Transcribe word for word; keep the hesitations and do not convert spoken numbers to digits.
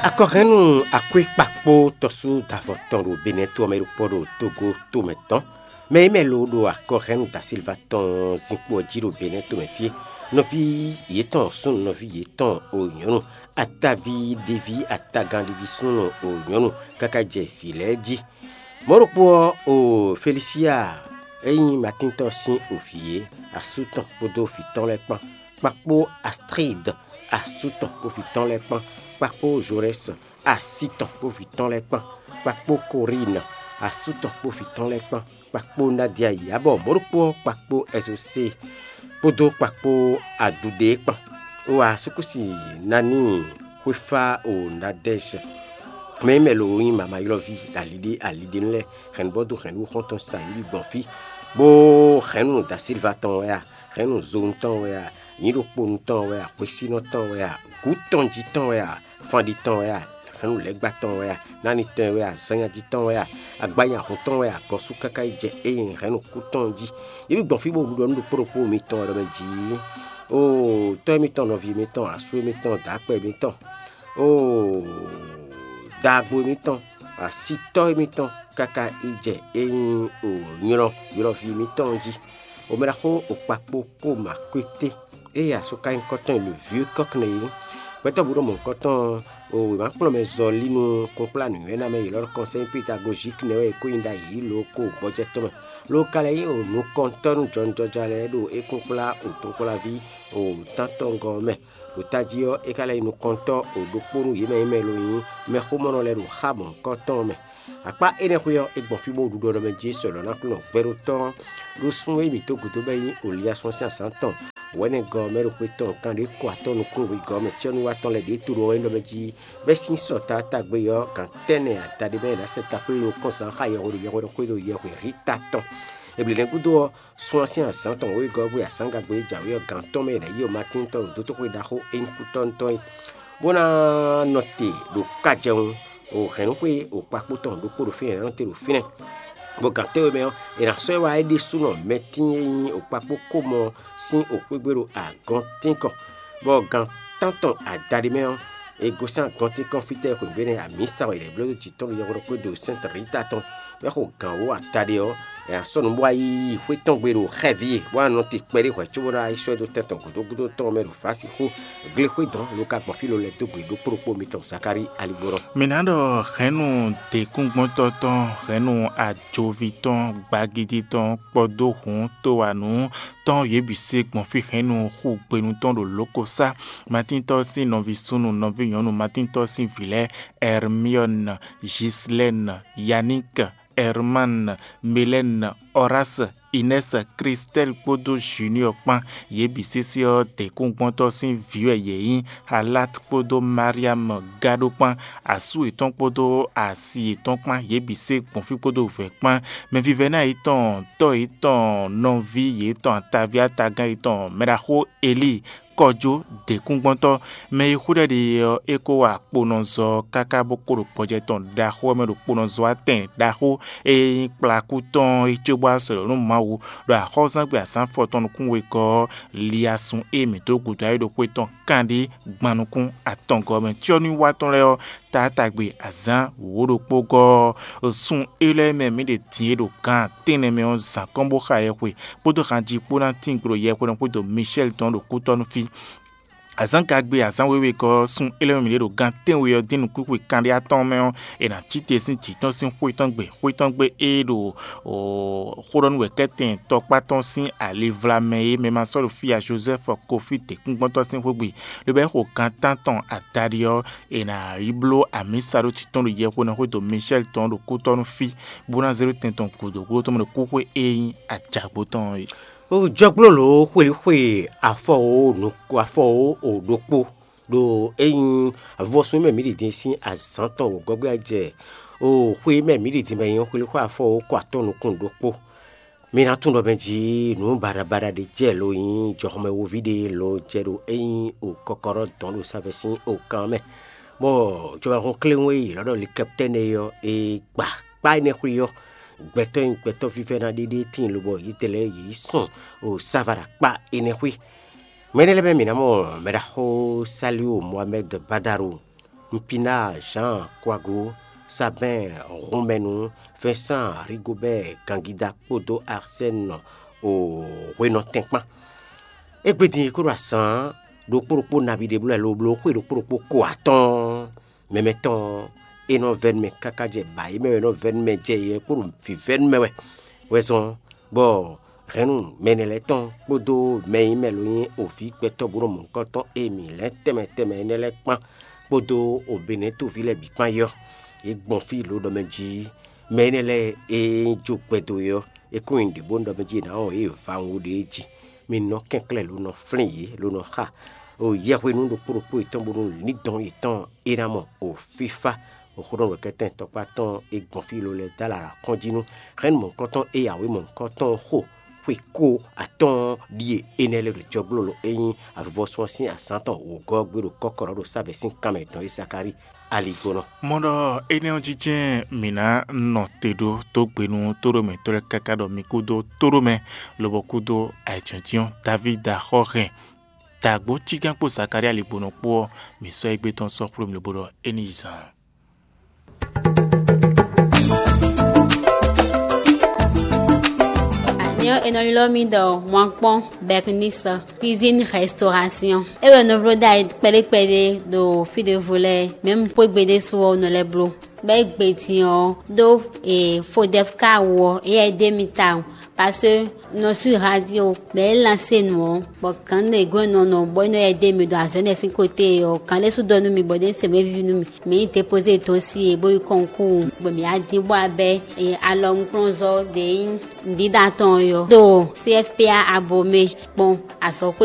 Akɔhɛnnu akwé kpakpó tɔ́sú davɔ tɔn ɖo Benɛ́ to ɔ́ mɛ ɖokpɔ́ ɖo Togo tomɛ tɔn. Mɛ e mɛ lo ɖo akɔhɛnnu Da Silva tɔn zinkpo ɔ́ jí ɖo Benɛ́ tomɛ fí é. Nɔví yětɔn súnnu, nɔví yětɔn o nyɔ̌nu, ataví ɖéví, atagán ɖéví súnnu o nyɔ̌nu, káká jɛ vǐ lɛ́ɛ jí. Mɔ̌ ɖokpó ɔ́, o Felisiya e nyí Matíntɔ́ sín o vǐ é, asú tɔn kpódó vǐ tɔn lɛ́ɛ kpán, kpakpó Astrid, asú tɔn kpó vǐ tɔn lɛ́ɛ kpán, kpakpó Zorɛ́si, asi tɔn kpó vǐ tɔn lɛ́ɛ kpán, kpakpó Korína, asú tɔn kpó vǐ tɔn lɛ́ɛ kpán, kpakpó Nadia yǎbɔ mɔ̌ ɖokpó ɔ́, kpakpó Ɛzosée kpódó kpakpó Aduɖée kpán. Wá súkúsi naní xwéfá o Nadɛ́zɛ, mɛ e mɛ lo nyí mama ylɔ́ví aliɖé aliɖénu lɛ́ɛ, hɛ̌nnu bɔ dó hɛ̌nnu xɔ́ntɔn sa yě bǐ gbɔn fí, bó hɛ̌nnu Da Silva tɔn wɛ a, hɛ̌nnu zonu tɔn wɛ a, nyǐ ɖokponu tɔn wɛ a, xwesínɔ tɔn wɛ a, gǔ tɔn jí tɔn wɛ a, fanɖi tɔn wɛ a, hɛ̌nnu lɛ́ɛgba tɔn wɛ a, nánitɔn wɛ a, zannyají tɔn wɛ a, agbanyahun tɔn wɛ a, gɔ́sú káká yi jɛ ée nyí hɛ̌nnu kú tɔn jí. Yě bǐ gbɔn fí bó ɖiɖɔ nú ɖokpó ɖokpó mitɔn wɛ ɖɔ mɛ jǐ. Oo, tɔ́ émítɔn, nɔví émítɔn, asú émítɔn, dǎkpɛ émítɔn, oo, dagbo émítɔn, asitɔ́ émítɔn káká yi jɛ é nyí o nylɔ́ ylɔ́ví émítɔn jí. O mɛ ɖaxó o kpakpó kó ma kwété, ée asú ka nyí kɔ́tɔn e le vieux coq nɛ́ é. Gbɛtɔ́ bǔ ɖo mɔ̌hunkɔtɔn ɔ́, o wěmakplɔ́nmɛzɔlí nú kúnkplá nǔnywɛ́ ná mɛ yě lɔ́ ɖɔ kɔnsɛ́ pédagozík nɛ́ wɛ é kó nyi ɖ'ayǐ lǒ kó gbɔjɛ́ tɔn mɛ. Ló ka lɛ́ nyí o nukɔntɔ́ nú jɔnjɔja lɛ́ɛ ɖo é kúnkplá o tɔ́nkplɔ́ví o tántɔngɔ́ ɔ́ mɛ. Ɖo tají ɔ́, é ka lɛ́ nyí nukɔntɔ́ o ɖokpó nú yě mɛ e mɛ lo nyí mɛxómɔnɔ lɛ́ɛ ɖo xá mɔ̌hunkɔtɔn ɔ́ mɛ. Akpá énɛ́ xwé ɔ́, é gbɔn fí bó ɖu ɖɔ mɛ jí é sɔ́ lɔ̌ ná kplɔ́n gbɛɖótɔ́ ɔ́ ɖó sún e mǐ dó gǔdo bɔ é nyí Oliyasɔ́n sín azǎn tɔn wɛ̌nɛgɔ́ ɔ́ mɛ ɖo xwé tɔn kanɖé kɔ atɔ́ nukúnwegɔ́ ɔ́ mɛ cɛ́núwatɔ́ lɛ́ɛ ɖě to ɖo ɔ́ é ɖɔ mɛ jí, bɛ́ sín sɔ taatagbe ɔ́, gǎn tɛ́nnɛ adaɖé mɛ è nǎ sɛ taxwlé lo kɔn zǎn xá yɛhweɖo yɛhweɖo xwé ɖo yɛhwe Rita tɔn. Ebli nɛ́ gúdo ɔ́, sún ɔ́ sín azǎn tɔn wěwegɔ́ ɔ́ bú asǎngagbe e jǎwe ɔ́ gǎn tɔn mɛ è nǎ yi Matín tɔn ɖo dótóxwé ɖaxó e nyí kútɔ́nútɔn é, bó ná nɔ te ɖo kájɛwun o hɛ̌nnúxwé o kpakpó tɔn ɖokpó ɖo fínɛ́, è nǎ nɔ te ɖo fínɛ́, bɔ gǎn tɛ́nwe mɛ ɔ́, è nǎ sɔ́ ɛ wá é ɖésúnɔ Mɛtín e nyí o kpakpó kómɔ sín o xwé gbe ɖo agɔntínkɔn, bɔ gǎn tántɔn adaɖé mɛ ɔ́, è gosín agɔntínkɔn fítɛ́ xweyǐgbe nɛ́ amǐsa wɛ è nǎ bló dó jǐ tɔn ɖo yɛhweɖɔkpé ɖo Sɛ́nti Rita tɔn, bɔ é xo gǎn wǒ ataɖé ɔ́, è nǎ sɔ́ nǔ bó wá yí xwé tɔn gbe ɖo xɛví e, bó wá nɔ te kpɛɖé hwɛ̌ cóbó ná yi sɔ́ ɛ dó tɛn tɔn gǔdo gúdo tɔn mɛ ɖo Vǎsixú glexwé dɔn lo ka gbɔn fí lo lɛ́ dó gbe ɖokpó ɖokpó mitɔn Zakalíi aligbɔnɔ. Mǐ ná ɖɔ hɛ̌nnu děkúngbɔ́ntɔ́ tɔn, hɛ̌nnu ajoví tɔn, gbagidi tɔn, kpɔdó hǔn, towanǔ tɔn, yě bǐ se gbɔn fí hɛ̌nnu xú gbenu tɔn ɖo lǒkosá. Matíntɔ́ sín nɔví súnnu, nɔví nyɔ̌nu Matíntɔ́ sín vǐ lɛ́ɛ: Ɛrmiɔ́ni, Jislɛ́ni, Yaník, Ɛrmán, Melɛ́ni, Ɔrási, Inɛ́si, Klistɛ́li kpódó Juniɔ́ɔ kpán. Yě bǐ sésé ɔ́, děkúngbɔ́ntɔ́ sín vǐ wɛ yě nyí. Halát kpódó Mariam gá ɖó kpán, asú yětɔn kpódó asi yětɔn kpán, yě bǐ se gbɔn fí kpódó vɛ̌ kpán. Mɛvívɛ́ná yětɔn, tɔ́ yětɔn, nɔví yětɔn, ataví atagán yětɔn, mɛɖaxó Elíi, kɔjó děkúngbɔ́ntɔ́, mɛ e xwíɖɔ ɖe ɔ́, é kó wa kponɔzɔ káká bó kó ɖo gbɔjɛ tɔn ɖaxó ɔ́ mɛ ɖo kponɔzɔ atɛn ɖaxó e nyí kplakú tɔn é cóbó wá sɔ̌ nú Mawu, ɖo axɔ́zángbé azǎn afɔtɔn nukún wegɔ́ ɔ́, liasun e mǐ dó gǔdo ayǐ ɖo xwé tɔn kanɖé gban nukún atɔngɔ́ mɛ. Cyɔ́núwiwa tɔn lɛ́ɛ ɔ́, taátagbe azǎn wǒ ɖokpó gɔ́ ɔ́, sun élɔ́ e mɛ mǐ ɖe din é ɖo gan tɛ́nnɛ mɛ ɔ́ zǎn kɔn bó xa yɛhwe kpódó hanjí kpó ná tín glo yɛhweɖɔ xwédo Mishɛ́li tɔn ɖo kútɔ́ nú fí. Azǎn gagbe azǎn wěwe gɔ́ ɔ́, sun élɔ́ e mǐ ɖe ɖo gan tɛ́nwe ɔ́ dín nukúnxwe kanɖé atɔ́ɔ́n mɛ ɔ́, è nǎ cí te sín jǐ tɔn sín xwé tɔn gbe, xwé tɔn gbe e ɖo xó ɖɔ nú wɛ̌kɛ́tɛn tɔkpá tɔn sín ali vlamɛ é mɛ ma sɔ́ ɖo fí ya Jozɛ́fu Kofí děkúngbɔ́ntɔ́ sín xwé gbe, lobo é xo gan tántɔn adaɖé ɔ́, è nǎ yi bló amǐsa ɖó títɔn ɖo yɛhweɖɔ xwédo Mishɛ́li tɔn ɖo kútɔ́ nú fí, bó ná zé ɖó tɛn tɔn gǔdo gúdo tɔn mɛ ɖo kúxwé e nyí ajǎgbó tɔn ɔ́ é. Jɔgblólǒ xwelixwe afɔwǒ nukún afɔwǒ o ɖokpó ɖo é nyí avɔsún e mɛ mǐ ɖi din sín azǎn tɔn wǒgɔ́gbé ɔ́ jɛ o xwe e mɛ mǐ ɖi din mɛ nyí xwelixwe afɔwǒ kɔ atɔn nukún ɖokpó. Mi ná tunwun ɖɔ mɛ jí nǔ baɖabaɖa ɖé jɛ lo nyí jɔxɔmɛwóví ɖé lo jɛ ɖo é nyí o kɔkɔɖɔ dɔn ɖo savɛ sín o kan mɛ, bɔ jɔwɛhɔn kléwún e yě lɔ́ ɖɔ likɛptɛ́n é ɔ́, è gba kpá énɛ́ xwé ɔ́, gbɛtɔ́ e nyí gbɛtɔ́ vívɛ́ná ɖé ɖé tíin lobɔ yědɛɛ lɛ́ɛ yě yi sɔn o sáva ɖo akpá énɛ́ xwé. Mɛ énɛ́ lɛ́ɛ mɛ mǐ ná mɔ mɛɖaxó Saliu Mohamɛ́d Badaru, Mpina Jean Kouago, Sabɛn Hunmɛnu, Vincent Rigobert Gangida kpódó Arsène o hwenɔ tɛn kpán. Égbé din e kó ɖo azǎn ɖokpó ɖokpó nabí ɖé bló wɛ lo bló xwé ɖokpó ɖokpó ko atɔ́ɔ́n. Mɛ mɛtɔn ɔ́, é nɔ vɛ́ nú mɛ káká jɛ ba é mɛ wɛ é nɔ vɛ́ nú mɛ jɛ yɛ kpó ɖo vǐvɛ́ nú mɛ wɛ. Wɛ zɔn bɔ hɛ̌nnu mɛ énɛ́ lɛ́ɛ tɔn kpódó mɛ e nyí mɛ lo nyí oví gbɛtɔ́ bó nɔ mɔ nukɔn tɔn e mǐ lɛ́ tɛnmɛ tɛnmɛ énɛ́ lɛ́ɛ kpán kpódó obɛnɛ́ toví lɛ́ɛ bǐ kpán é ɔ́, yě gbɔn fí lǒ ɖɔ mɛ jí mɛ énɛ́ lɛ́ɛ e nyí jó gbɛdo é ɔ́, é kún nyi nǔɖé bónú ɖɔ mɛ jí è nǎ wɔn yě va wú ɖě jí. Mi nɔ kɛnklɛ́n lo nɔ flín yě lo nɔ xa o yɛhwenu ɖokpó ɖokpó yětɔn bónú lǐndɔ̌n yětɔn é ná mɔ o fífá. Oxóɖɔnúwɛkɛ́tɛn tɔkpá tɔn e gbɔn fí lo lɛ́ɛ dó alɔ kɔn jí nú hɛ̌nnu mɔ̌hunkɔtɔn e yǎwe mɔ̌hunkɔtɔn xo xwe kó atɔ́ɔ́n ɖíe énɛ́ lɛ́ɛ ɖo jɔgblólo e nyí avivɔ́sún ɔ́ sín azǎn tɔn wǒgɔ́ ɔ́ gbé ɖo kɔ́kɔ́ ɖo sábɛ̌ sín kanmɛ tɔn e Sakáli aligbɔnɔ. Mɔ ɖɔ énɛ́ ɔ́ jínjɛ́n mǐ ná nɔ te ɖó tógbenu tóɖomɛtɔ́ lɛ́ɛ káká ɖɔ mi kúdó tóɖomɛ lobɔ kúdó ayǐjínjɔ́n Davída xɔ hɛn dǎgbó cígán kpó Zakalía ligbonɔ kpó ɔ́, mǐ sɔ́ égbé tɔn sɔ́ xwlé mì lobo ɖɔ é ní yi zaan. Anyɔ è nɔ ylɔ́ mì ɖɔ Mwankpɔ́n Bɛknisɔ, cuisine restauration. É wɛ nɔ vló ɖ'ayǐ kpɛɖé kpɛɖé ɖo fí ɖěvo lɛ́ɛ, mɛ̌ un xwé gbe ɖésú ɔ́, un nɔ lɛ́ bló. Bɔ é gbe din ɔ́, ɖó fodɛfka wú ɔ́, éyɛ́ é ɖe mì tawun, parce que nɔ sú radio bɔ é lansé nǔ ɔ́, bɔ gǎn ɖě gɔ́n nɔ nɔ bɔ é nɔ yɛ ɖe mì ɖo azɔ̌ énɛ́ sín côté ɔ́, gǎn ɖé sú ɖɔ nú mì bɔ ɖě se wěví nú mì, mǐ yi dépoze dosie bó yi kɔnkúu, bɔ mǐ wá dín bó wá bɛ́ alɔnukplɔ́nzɔ́ ɖě nyí nǔɖiɖa tɔn ɔ́ ɖo C F P A Abomey kpɔ́n azɔ̌xwé